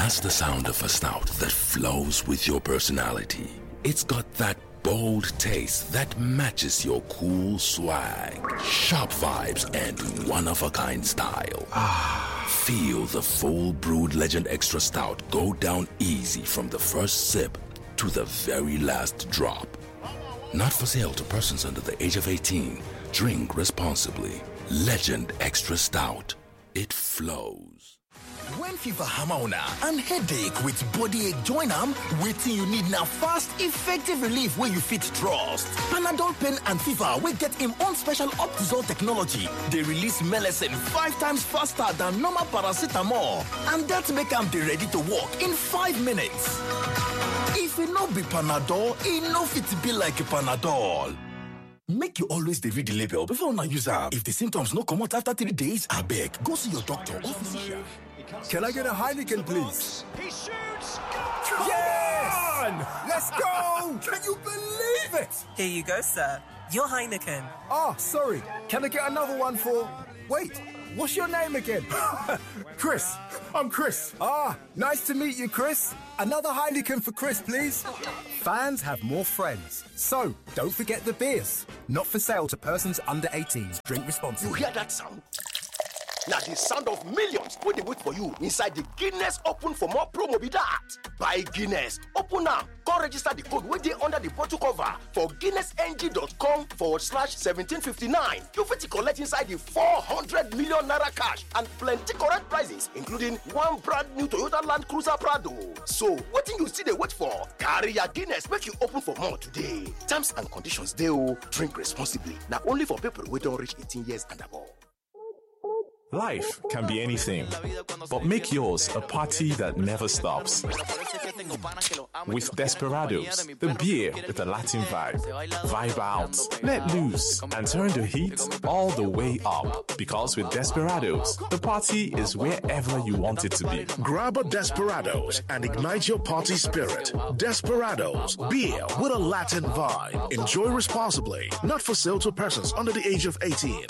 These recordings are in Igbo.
That's the sound of a stout that flows with your personality. It's got that bold taste that matches your cool swag, sharp vibes, and one of a kind style. Feel the full brewed Legend Extra Stout go down easy from the first sip to the very last drop. Not for sale to persons under the age of 18. Drink responsibly. Legend Extra Stout. It flows. When fever hammer una and headache with body ache join am, wetin you need na fast, effective relief wey you fit trust. Panadol pain and fever wey get im own special Optizol technology dey release melecine 5 times faster than normal paracetamol and dat make am dey ready to work in 5 minutes. If e no be Panadol, e no fit be like Panadol. Make you always dey read the label before una use am. If the symptoms no comot after 3 days, abeg go see your doctor or physician. Can I get a Heineken, please? He shoots. Yes! Let's go! Can you believe it? Here you go, sir. Your Heineken. Ah, sorry. Can I get another one for. Wait, what's your name again? Chris. I'm Chris. Ah, nice to meet you, Chris. Another Heineken for Chris, please. Fans have more friends. So, don't forget the beers. Not for sale to persons under 18. Drink responsibly. You hear that sound? Na the sound of millions wey dey wait for you inside the Guinness Open for More promo be that. Buy Guinness, open am, come register the code wey dey under the bottle cover for guinnessng.com/1759. You fit collect inside the ₦400 million cash and plenty correct prizes, including one brand new Toyota Land Cruiser Prado. So wetin you still dey wait for? Carry your Guinness make you open for more today. Terms and conditions dey o. Drink responsibly. Na only for people wey don reach 18 years and above. Life can be anything, but make yours a party that never stops. With Desperados, the beer with a Latin vibe. Vibe out, let loose, and turn the heat all the way up. Because with Desperados, the party is wherever you want it to be. Grab a Desperados and ignite your party spirit. Desperados, beer with a Latin vibe. Enjoy responsibly. Not for sale to persons under the age of 18.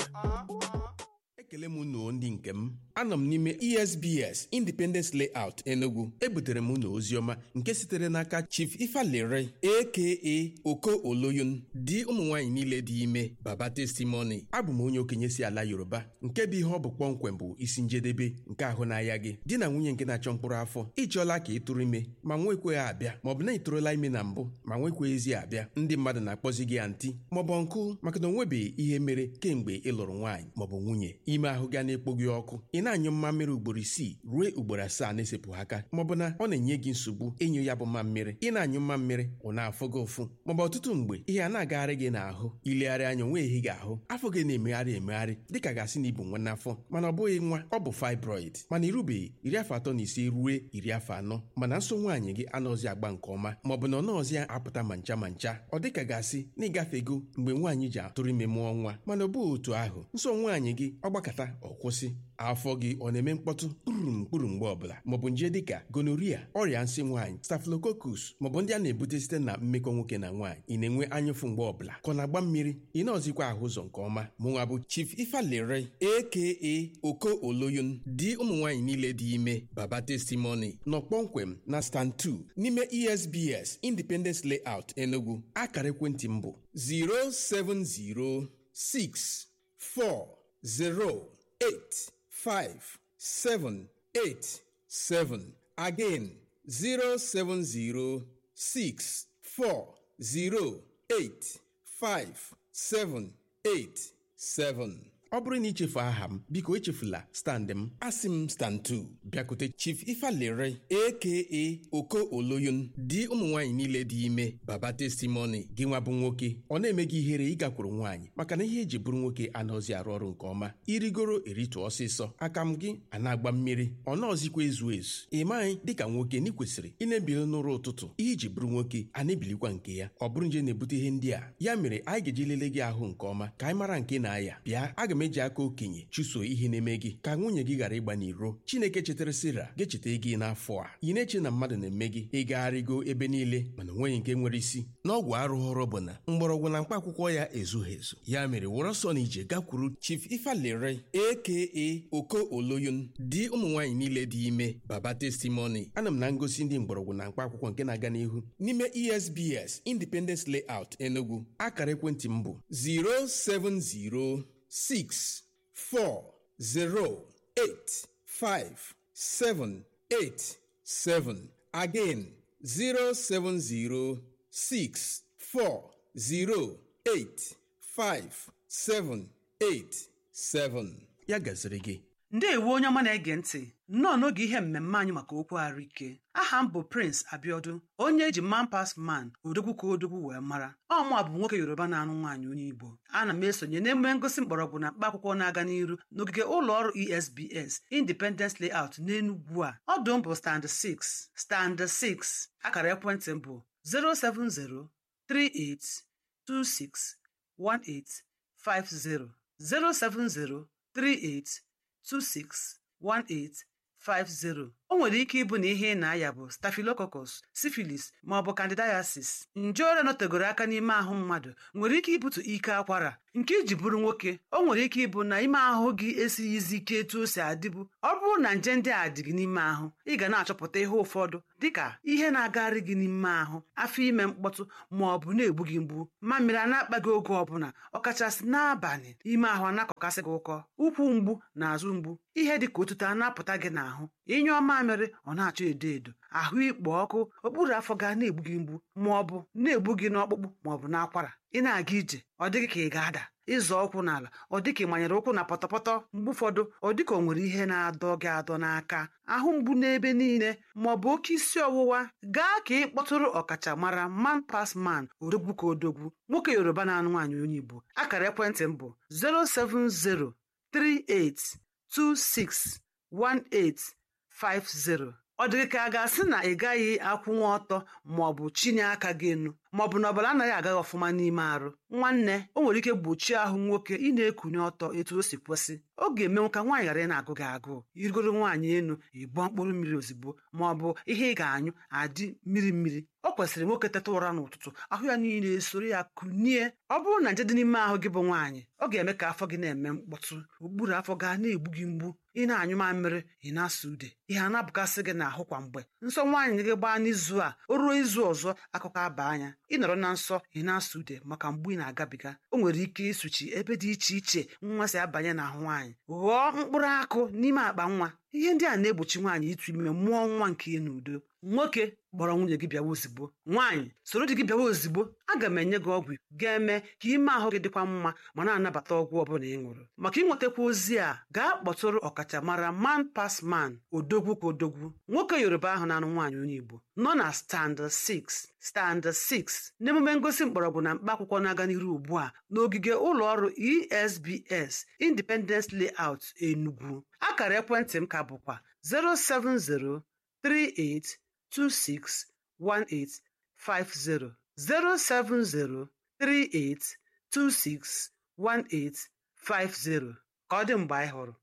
Ekele m unu ndị nke m. Anọ m n'ime ESBS Independence Layout, Enugu. Ebutere m unu oziọma nke sitere n'aka Chief Ifalere, aka Oko Oloyun, di ụmụ nwaanyị niile dị ime, Baba Testimony. Abụ m onye okenye si ala Yoruba. Nke bụ ihe ọ bụ kpọmkwem bụ isi njedebe nke ahụ n'ahịa gị. Di na nwunye nke na-achọ mkpụrụ afọ, ịchọọla ka ị tụrụ ime ma nwekweghị abịa, maọbụ na ị tụrụla ime na mbụ ma nwekweghịzi abịa. Ndị mmadụ na-akpọzi gị aunty maọbụ uncle, maka na onwebeghị ihe mere kemgbe ị lụrụ nwaanyị maọbụ nwunye. Ime ahụ ga na-ekpo gị ọkụ, ị na-anyụ mmammiri ugboro 6 ruo ugboro 7 na-esepụ aka, maọbụ na ọ na-enye gị nsogbu ịnyụ ya bụ mmammiri. Ị na-anyụ mmammiri, ọ na-afụ gị ụfụ, maọbụ ọtụtụ mgbe ihe a na-agagharị gị n'ahụ. Ilegharị anya, onwe ehi gị ahụ, afọ gị na-emegharị emegharị dịka gasị na ibu nwa n'afọ, mana ọ bụghị nwa, ọ bụ fibroid. Mana irubeghị iri afọ 35 ruo iri afọ 40, mana nso nwaanyị gị anọzi agba nke ọma, maọbụ na ọ nọọzi apụta ma ncha ma ncha. Ọ dịka gasị na ịgafego mgbe nwaanyị ji atụrụ ime mụọ nwa, mana ọ bụghị otu ahụ. Nso nwaanyị gị ọ gbakọta, ọ kwụsị. Afọ gị ọ na-eme mkpọtụ kpụrụ mkpụrụ mgbe ọbụla, maọbụ nje dịka gonorrhea, ọrịa nsị nwaanyị, staphylococcus, maọbụ ndị a na-ebute site na mmekọ nwoke na nwaanyị. Ị na-enwe anyụfụ mgbe ọbụla, ka ọ na-agba mmiri, ị na-ọzikwa ahụ ụzọ nke ọma. Mụnwa bụ Chief Ifalere, aka Oko Oloyun, di ụmụ nwaanyị niile dị ime, Baba Testimony, nọ kpọmkwem na stand 2 n'ime ESBS Independence Layout, Enugu. Akara ekwentị m bụ 070 640 8 5 7 8 7. Again, 070 6 4 0 8 5 7 8 7. Ọ bụrụ na ichefu aha m, biko echefula stand m. Asị m stand 2, bịakute Chief Ifalere, aka Oko Oloyun, di ụmụ nwaanyị niile dị ime, Baba Testimony. Gị nwa bụ nwoke, ọ na-eme gị ihere ịgakwuru nwaanyị, maka na ihe eji bụrụ nwoke anaghịzi arụ ọrụ nke ọma. Irigoro eritu ọsịsọ, aka m gị a na-agba mmiri, ọ nọọzikwa ezu ezu. Ị maghị dịka nwoke na ị kwesịrị ị na-ebili n'ụra ụtụtụ. Ihe iji bụrụ nwoke a na-ebilikwa nke ya. Ọ bụrụ nje na-ebute ihe ndị a, ya mere anyị ga-eji lelee gị ahụ nke ọma ka anyị mara nke na-aya. Bịa, aga m Aga m eji aka okenye chụso ihe na-eme gị ka nwunye gị ghara ịgba n'iro. Chineke chetara Sera ga-echeta gị n'afọ a. Ị na-eche na mmadụ na-eme gị, ịgagharịgo ebe niile mana onweghị nke nwere isi. N'ọgwụ arụghọrọ bụ na mgbọrọgwụ na mkpa akwụkwọ ya ezughị ezu. Ya mere were ọsọ na ije gakwuru Chief Ifalere aka Oko Oloyun, di ụmụ nwaanyị niile dị ime, Baba Testimony. Ana m na ngosi ndị mgbọrọgwụ na mkpa akwụkwọ nke na-aga n'ihu n'ime ESBS Independence Layout Enugu. Akara ekwentị m bụ 07064085787. Again, 07064085787. Ya gaziri gị. Ndeewo onye ọma na-ege ntị, nnọọ n'oge ihe mmemme anyị maka okwu ahụike. Aha m bụ Prince Abiodun, onye eji Man Pass Man odogwu ka odogwu wee mara. Ọmụa bụ nwoke Yoruba na-anụ nwaanyị onye Igbo. Ana m esonye n'emume ngosi mgbọrọgwụ na mkpa akwụkwọ na-aga n'iru n'ogige ụlọ ọrụ ESBS Independence Layout n'Enugwu a. Ọdụ m bụ stand 6, stand 6. Akara ekwentị m bụ 07038261850, 07038261850. O nwere ike ịbụ na ihe ị na-aya bụ staphylococcus, syphilis ma ọ bụ candidiasis. Nje ọrịa nọtegoro aka n'ime ahụ mmadụ nwere ike ibute ike akwara nke iji bụrụ nwoke. O nwere ike ịbụ na ime ahụ gị esighizi ike etu o si adịbu. Ọ bụrụ na nje ndị a dị gị n'ime ahụ, ị ga na-achọpụta ihe ụfọdụ dịka ihe na-agagharị gị n'ime ahụ, afọ ime mkpọtụ ma ọ bụ na-egbu gị mgbu, mamịrị a na-akpa gị oge ọbụla, ọkachasị n'abalị, ime ahụ a na-akọkasị gị ụkọ, ụkwụ mgbu na azụ mgbu, ihe dị ka otuto a na-apụta gị n'ahụ, ịnyụọ mamịrị ọ na-achọ edo edo, ahụ ikpo ọkụ, okpuru afọ ga na-egbu gị mgbu ma ọ bụ na-egbu gị n'ọkpụkpụ ma ọ bụ n'akwara. Ị na-aga ije ọ dịghị ka ị ga-ada, ịzọ ụkwụ n'ala ọ dịka ị manyere ụkwụ na pọtọpọtọ. Mgbe ụfọdụ ọ dịka o nwere ihe na-adọ gị adọ n'aka, ahụ mgbu n'ebe niile ma ọ bụ oke isi ọwụwa. Gaa ka ị kpọtụrụ ọkachamara Man Pass Man odogwu ka odogwu, nwoke Yoruba na-anụ nwaanyị onye Igbo. Akara ekwentị m bụ 07038261850. Ọ dịghị ka a ga-asị na ị gaghị akwụnwa ọtọ ma ọ bụ chinye aka gị enu ma ọ bụ na ọbara anaghị agaghị ọfụma n'ime arụ. Nwanne, o nwere ike gbochie ahụ nwoke ị na-ekunye ọtọ etu o si kwesị. Ọ ga-emenwu ka nwaanyị ghara ị na-agụ gị agụụ. Irigoro nwaanyị enu, ịgbọ mkpụrụ mmiri ozugbo ma ọ bụ ihe ị ga-anyụ adị mmiri mmiri. Ọ kwesịrị nwoke teta ụra n'ụtụtụ, ahụ ya niile esoro ya kunie. Ọ bụrụ na nje dị n'ime ahụ gị bụ nwaanyị, ọ ga-eme ka afọ gị na-eme mkpọtụ, okpuru afọ gaa na-egbu gị mgbu, ị na-anyụ mamịrị, ị na-asa ude, ihe a na-abụkasị gị n'ahụ kwa mgbe. Nsọ nwaanyị gị gbaa n'izu a, o ruo izu ọzọ akụkọ aba anya. Ị nọrọ na nsọ, ị na-asa ude maka mgbu ị na-agabiga. O nwere ike ịsụchi ebe dị iche iche nwa si abanye n'ahụ nwaanyị, ghọọ mkpụrụ akụ n'ime akpa nwa. Ihe ndị a na-egbochi nwaanyị ịtụ ime mụọ nwa nke ya n'udo. Nwoke, kpọrọ nwunye gị bịawa ozigbo. Nwaanyị, soro di gị bịawa ozigbo. Aga m enye gị ọgwụ ga-eme ka ime ahụ gị dịkwa mma ma na-anabata ọgwụ ọbụla ị ṅụrụ. Maka ịnwetakwa ozi a, gaa kpọtụrụ ọkachamara Man Pass Man odogwu ka odogwu, nwoke Yoruba ahụ na-anụ nwaanyị onye Igbo, nọ na stand 6, stand 6 n'emume ngosi mgbọrọgwụ na mkpa akwụkwọ na-aga n'iru ugbu a n'ogige ụlọ ọrụ ESBS Independence Layout Enugu. Akara ekwentị m ka bụkwa 07038261850, 07038261850. Ka ọ dị mgbe anyị hụrụ.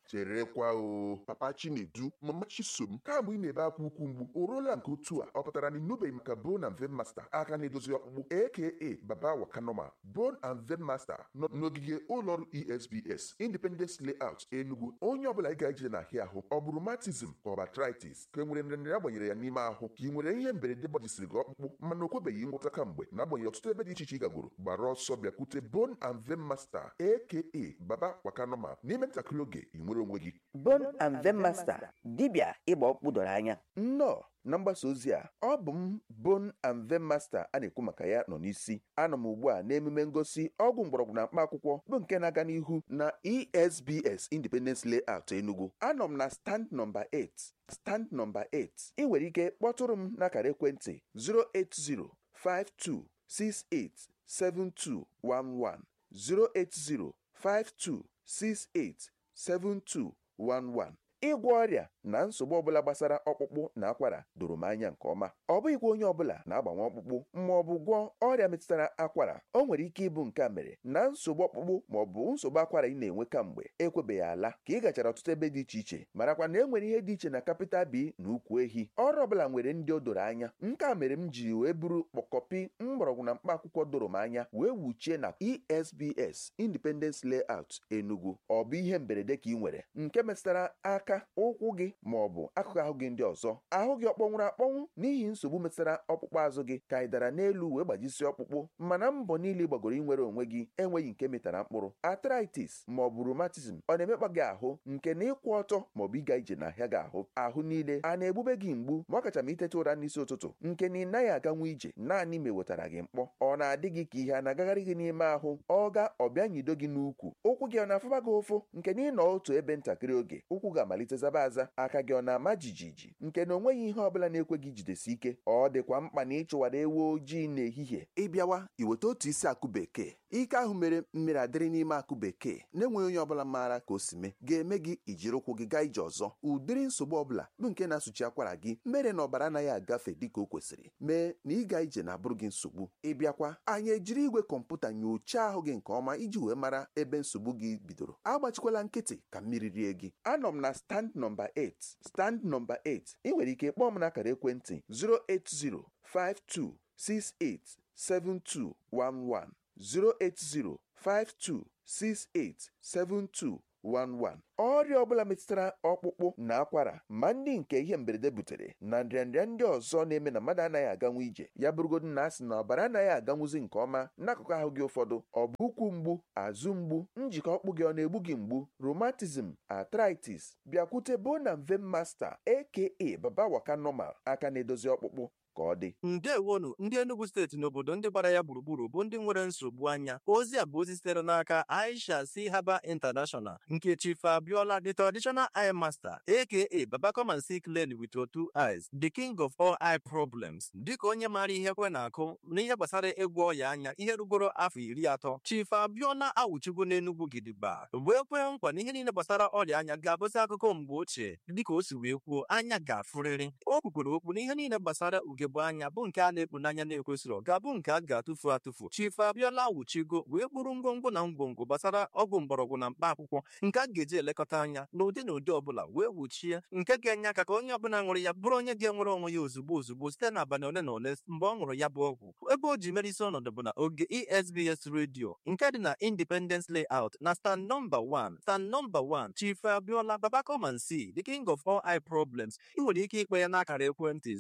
Cherekwa o, papa Chinedu, mama Chisom, kamgbe ị na-ebe akwa ukwu mgbu o ruola nke otu a, ọ pụtara na ịnụbeghị maka Bone and Vein Master, aka na-edozi ọkpụkpụ, aka Baba Wakanoma. Bone and Vein Master nọ n'ogige ụlọọrụ ESBS Independence Layout Enugu. Onye ọbụla ị ga-eje n'ahịa ahụ, ọ bụrụ rheumatism ka ọ bụ arthritis, ka e nwere nrịanrịa agbanyere ya n'ime ahụ, ka ị nwere ihe mberede gbajisiri gị ọkpụkpụ mana o kwebeghị ngwọta kamgbe, na-agbanyeghị ọtụtụ ebe dị iche iche ị gagoro, gbara ọsọ bịakwute Bone and Vein Master aka Baba Wakanoma. N'ime ntakịrị oge ị nwere onwe gị. Bone and Vein Master, dibịa ịgba ọkpụkpụ doro anya. Nnọọ na mgbasa ozi a. Ọ bụ m Bone and Vein Master a na-ekwu maka ya nọ n'isi. Anọ m ugbu a n'emume ngosi ọgwụ mgbọrọgwụ na mkpa akwụkwọ bụ nke na-aga n'ihu na ESBS Independence Layout Enugu. Anọ m na stand nọmba 8, stand nọmba 8. Ị nwere ike kpọtụrụ m n'akara ekwentị 08052687211, 08052687211. Ịgwọ ọrịa na nsogbu ọbụla gbasara ọkpụkpụ na akwara doro m anya nke ọma. Ọ bụghịkwa onye ọbụla na-agbanwe ọkpụkpụ ma ọ bụ gwọọ ọrịa metụtara akwara. O nwere ike ịbụ nke a mere na nsogbu ọkpụkpụ ma ọ bụ nsogbu akwara ị na-enwe kamgbe ekwebeghị ala ka ị gachara ọtụtụ ebe dị iche iche. Marakwa na e nwere ihe dị iche na kapịtal B na ukwu ehi. Ọrụ ọbụla nwere ndị o doro anya. Nke a mere m ji wee buru kpọkọpi mgbọrọgwụ na mkpa akwụkwọ doro m anya wee wuchie na ESBS Independence Layout Enugu. Ọ bụ ihe mberede ka ị nwere nke metụtara aka, ụkwụ gị ma ọ bụ akụkụ ahụ gị ndị ọzọ? Ahụ gị ọ kpọnwụrụ akpọnwụ n'ihi nsogbu metụtara ọkpụkpụ azụ gị, ka ị dara n'elu wee gbajisie ọkpụkpụ, mana mbọ niile gbagoro inwere onwe gị enweghị nke metara mkpụrụ? Arthritis ma ọ bụ rheumatism ọ na-emekpa gị ahụ nke na ịkwụ ọtọ ma ọ bụ ịga ije n'ahịa gị ahụ? Ahụ niile a na-egbube gị mgbu ma ọ kacha ma iteta ụra n'isi ụtụtụ nke na ị naghị aganwu ije naanị ma ewetara gị mkpọ? Ọ na-adị gị ka ihe a na-agagharị gị n'ime ahụ? Ọ ga ọbịa nyido gị n'ukwu? Ụkwụ gị ọ na-afụba gị ụfụ nke na ị nọ otu ebe ntakịrị oge ụkwụ ga-amalite zaba aza? Aka gị ọ na-ama jijiji nke na onweghị ihe ọbụla na-ekwe gị jidesi ike? Ọ dịkwa mkpa na ịchụwara ewu ojii n'ehihie. Ịbịawa iweta otu isi akụ bekee, ike ahụ mere mmiri adịrị n'ime akụ bekee na-enweghị onye ọbụla maara ka o si mee, ga-eme gị ijiri ụkwụ gị gaa ije ọzọ. Ụdịrị nsogbu ọbụla bụ nke na-asụchi akwara gị mere na ọbara anaghị agafe dịka o kwesịrị, mee na ịga ije na-abụrụ gị nsogbu. Ịbịakwa anyị ejiri igwe kọmputa nyochaa ahụ gị nke ọma iji wee mara ebe nsogbu gị bidoro. Agbachikwala nkịtị ka mmiri rie gị. Anọ m na stand nọmba 8, stand nọmba 8. Ị nwere ike kpọọ m n'akara ekwentị 08052687211, 08052687211. Ọrịa ọbụla metụtara ọkpụkpụ na akwara, ma ndị nke ihe mberede butere na nrịanrịa ndị ọzọ na-eme na mmadụ anaghị aganwu ije, ya bụrụgodu na asị na ọbara anaghị aganwuzi nke ọma n'akụkụ ahụ gị ụfọdụ, ọ bụ ụkwụ mgbu, azụ mgbu, njikọ ọkpụ gị ọ na-egbu gị mgbu, rheumatism, arthritis, bịakwute Bone and Vein Master aka Baba Waka Normal, aka na-edozi ọkpụkpụ ka ọ dị. Ndewonu ndị Enugu steeti na obodo ndị gbara ya gburugburu bụ ndị nwere nsogbu anya. Ozi a bụ ozi sitere n'aka Aisha C. Haba International nke Chief Abiola, the traditional eye master, aka Baba come and see clearly with your two eyes, the king of all eye problems. Dịka onye maara ihe kwe na-akụ n'ihe gbasara ịgwọ ọya anya ihe rugoro afọ 30, Chief Abiola awụchigo n'Enugu gidigba wee kwee nkwa na ihe niile gbasara ọrịa anya ga-abụzi akụkọ mgbe ochie. Dịka o si wee kwuo, anya ga-afụrịrị. O kwukwere okwu na ihe niile gbasara ugegbe anya bụ nke a na-ekpu n'anya na-ekwesịrị ga-abụ nke a ga-atụfu atụfu. Chief Abiola awụchigo wee bụrụ ngwongwo na ngwongwo gbasara ọgwụ mgbọrọgwụ na mkpa akwụkwọ nke a ga-eji elekọta anya n'ụdị na ụdị ọbụla wee wuchie, nke ga-enye aka ka onye ọbụla ṅụrụ ya bụrụ onye ga-enwere onwe ya ozugbo ozugbo site n'abalị ole na ole mgbe ọ ṅụrụ ya bụ ọgwụ. Ebe o ji mere isi ọnọdụ bụ na oge ESBS redio nke dị na Independence Layout na stand nọmba 1, stand nọmba 1. Chief Abiola, Baba come and see, the king of all eye problems. Ị nwere ike ikpe ya n'akara ekwentị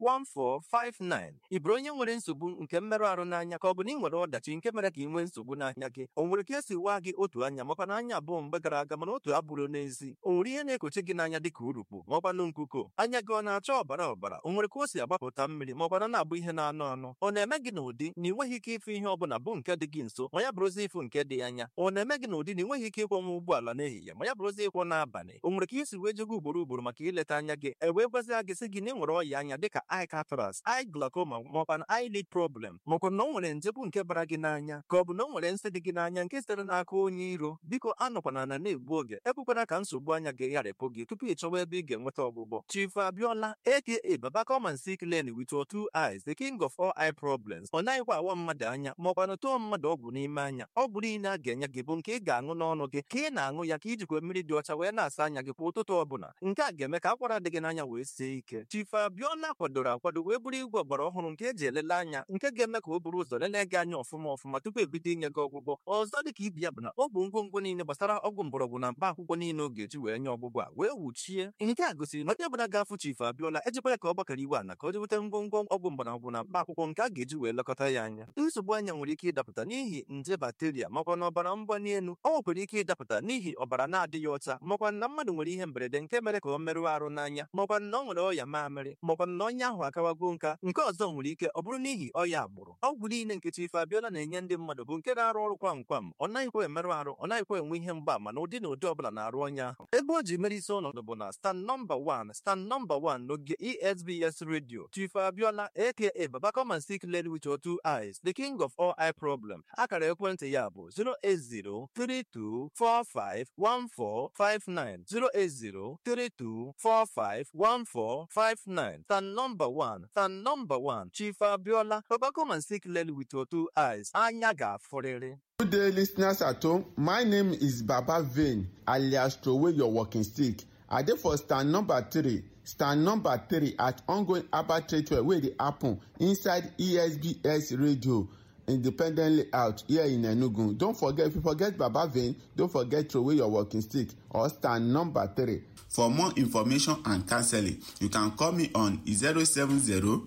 08032451459. Ị bụrụ onye nwere nsogbu nke mmerụ ahụ n'anya, ka ọ bụ na ị nwere ọdachi nke mere ka ị nwee nsogbu n'anya gị? O nwere ka esi waa gị otu anya makwa na anya abụọ mgbe gara aga mana otu abụrụ n'ezi? O nwere ihe na-ekochi gị n'anya dịka urukpu maọkwanụ nkuko? Anya gị ọ na-acha ọbara ọbara? O nwere ka o si agbapụta mmiri maọkwana na-abụ ihe na-anụ anụ? Ọ na-eme gị n'ụdị na ị nweghị ike ịfụ ihe ọbụla bụ nke dị gị nso ma ya bụrụzi ịfụ nke dị anya? Ọ na-eme gị n'ụdị na ị nweghị ike ịkwọnwa ụgbọala n'ehihie ma ya bụrụzi ịkwọ n'abalị? O nwere ka isi wee jego ugboro ugboro maka ileta anya gị, e wee gwazie gị sị gị na ị nwere ọya anya dịka eye cataracts, eye glaucoma maọkwa na eyelid problem, maọkwa na o nwere nje bụ nke bara gị n'anya, ka ọ bụ na o nwere nsị dị gị n'anya nke sitere n'aka onye iro? Biko anọkwana na na-egbu oge, ekwekwana ka nsogbu anya gị gharịpụ gị tupu ị chọwa ebe ị ga-enweta ọgwụgwọ. Chief Abiola aka Baba come and see clearly with your two eyes, the king of all eye problems. Ọ naghịkwa awa mmadụ anya maọkwa na tụọ mmadụ ọgwụ n'ime anya. Ọgwụ niile a ga-enye gị bụ nke ị ga-aṅụ n'ọnụ gị, ka ị na-aṅụ ya ka ijikwa mmiri dị ọcha wee na-asa anya gị kwa ụtụtụ ọbụla. Nke a ga-eme ka akwara dị gị n'anya wee sie ike. Chief Abiola kwadoro akwado wee bụrụ igwe ọgbara ọhụrụ nke eji elele anya, nke ga-eme ka o buru ụzọ lelee gị anya ọfụma ọfụma tupu ebido inye gị ọgwụgwọ. Ọzọ dịka ibi ya bụ na ọ bụ ngwongwo niile gbasara ọgwụ mgbọrọgwụ na mkpa akwụkwọ niile ọ ga-eji wee nye ọgwụgwọ a wee wuchie. Nke a gosiri na onye ọbụla ga-afụ Chief Abiola ejikwa ya ka ọ gbakọrọ iwe ala ka o jeweta ngwongwo ọgwụ mgbọrọgwụ na mkpa akwụkwọ nke a ga-eji wee lekọta ya anya. Nsogbu anya nwere ike ịdapụta n'ihi nje bakteria makwa na ọbara mgbali elu. Ọ nwekwara ike ịdapụta n'ihi ọbara na-adịghị ọcha, makwa na mmadụ nwere ihe mberede nke mere ka ọ merụọ arụ n'anya, makwa na ọ nwere nwere ọya mamịrị maọkwa na onye ahụ akawago nka. Nke ọzọ nwere ike ọ bụrụ n'ihi ọya agbụrụ. Ọgwụ niile nke Chief Abiola na-enye ndị mmadụ bụ nke na-arụ ọrụ kwam kwam. Ọ naghịkwa emerụ arụ, ọ naghịkwa enwe ihe mgbaama na ụdị na ụdị ọbụla na-arụ onye ahụ. Ebe o ji mere isi ọnọdụ bụ na stand nọmba 1, stand nọmba 1 n'oge ESBS Radio. Chief Abiola aka Baba come and see clearly with your two eyes, the king of all eye problem. Akara ekwentị ya bụ 08032451459, 08032451459. Stand nọmba 1, stand nọmba 1, Chief Abiola, Baba come and see clearly with your two eyes. Anya ga-afụrịrị. Good day, listeners at home. My name is Baba Vane, alias Throwaway Your Walking Stick. I dey for stand number 3, stand number 3 at ongoing Abba Trade Fair wey dey happen inside ESBS Radio, Independent Layout here in Enugu. Don't forget, if you forget Baba Vane, don't forget Throwaway Your Walking Stick or stand number 3. For more information and counseling, you can call me on 070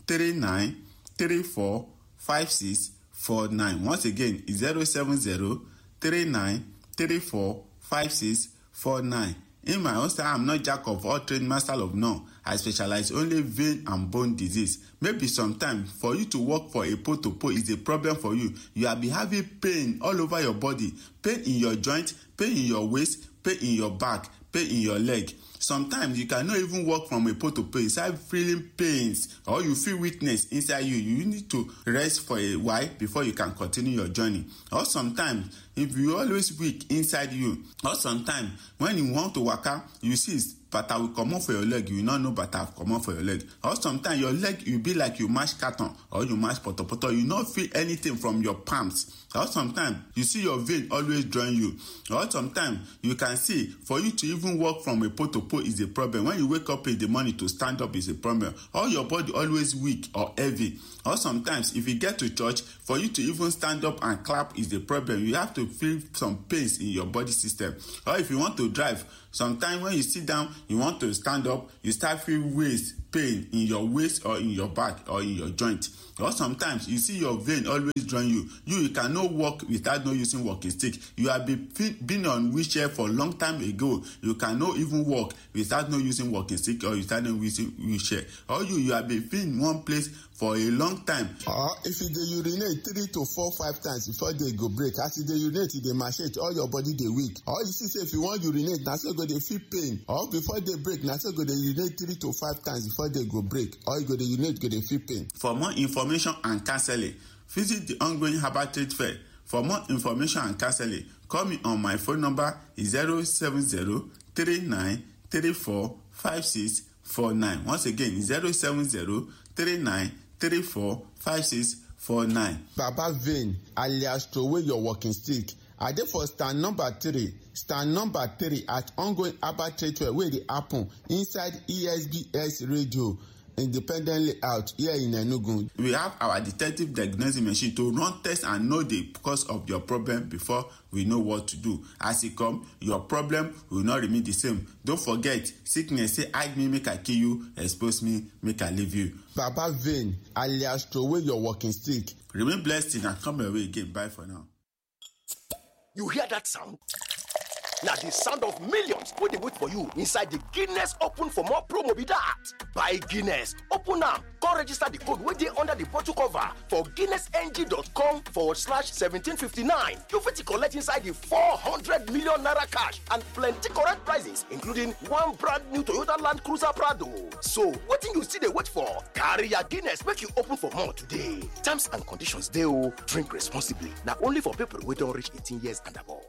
39 34 56 49. Once again, 070 39 34 56 49. In my own style, I'm not jack of all trade, master of none. I specialize only vein and bone disease. Maybe sometimes for you to work for a pole to pole is a problem for you. You have been having pain all over your body, pain in your joint, pain in your waist, pain in your back, pain in your leg. Sometimes you cannot even walk from a pole to pole. You start feeling pains or you feel weakness inside you. You need to rest for a while before you can continue your journey. Or sometimes if you always weak inside you, or sometimes when you want to waka, you see bata will comot for your leg, you no know bata comot for your leg. Or sometimes your leg you be like you mash carton or you mash potopoto, you no feel anything from your palms. Or sometimes you see your vein always join you. Or sometimes you can see for you to even walk from a pole to pole is a problem. When you wake up in the morning to stand up is a problem. Or your body always weak or heavy. Or sometimes if you get to church, for you to even stand up and clap is a problem. You have to feel some pains in your body system. Or if you want to drive, sometimes when you sit down, you want to stand up, you start feel waist pain in your waist or in your back or in your joint. Or sometimes you see your vein always join you. You cannot walk without no using walking stick. You have been on wheelchair for a long time ago. You cannot even walk without no using walking stick or without no using wheelchair. Or you have been in one place for a long time. Or if you dey urinate 3 to 4, 5 times before day go break, as you dey urinate, you dey machete, all your body dey weak. Or you see say if you wan urinate, na so go dey feel pain. Or before day break, na so go dey urinate 3 to 5 times before day go break. Or you go dey urinate, go dey feel pain. For more information and counseling, visit the ongoing Herbal Trade Fair. For more information and counseling, call me on my phone number 070 39 34 56 49. Once again, 070 39 34 56 49. Baba Vane, alias Throwaway Your Walking Stick. I dey for stand number 3, stand number 3 at ongoing Abba Trade Fair wey dey happen inside ESBS Radio, Independent Layout here in Enugu. We have our detective diagnosis machine to run tests and know the cause of your problem before we know what to do. As e come, your problem will not remain the same. Don't forget, sickness say hide me make I kill you, expose me make I leave you. Baba Vane, alias Throwaway Your Walking Stick. Remain blessed and come your way again. Bye for now. You hear that sound? Na the sound of millions wey dey wait for you inside the Guinness Open for More promo be that. Buy Guinness, open am, come register the code wey dey under the bottle cover for guinnessng.com/1759. You fit collect inside the 400 million naira cash and plenty correct prizes, including one brand new Toyota Land Cruiser Prado. So, wetin you still dey wait for? Carry your Guinness make you open for more today. Terms and conditions dey o. Drink responsibly. Na only for people wey don reach 18 years and above.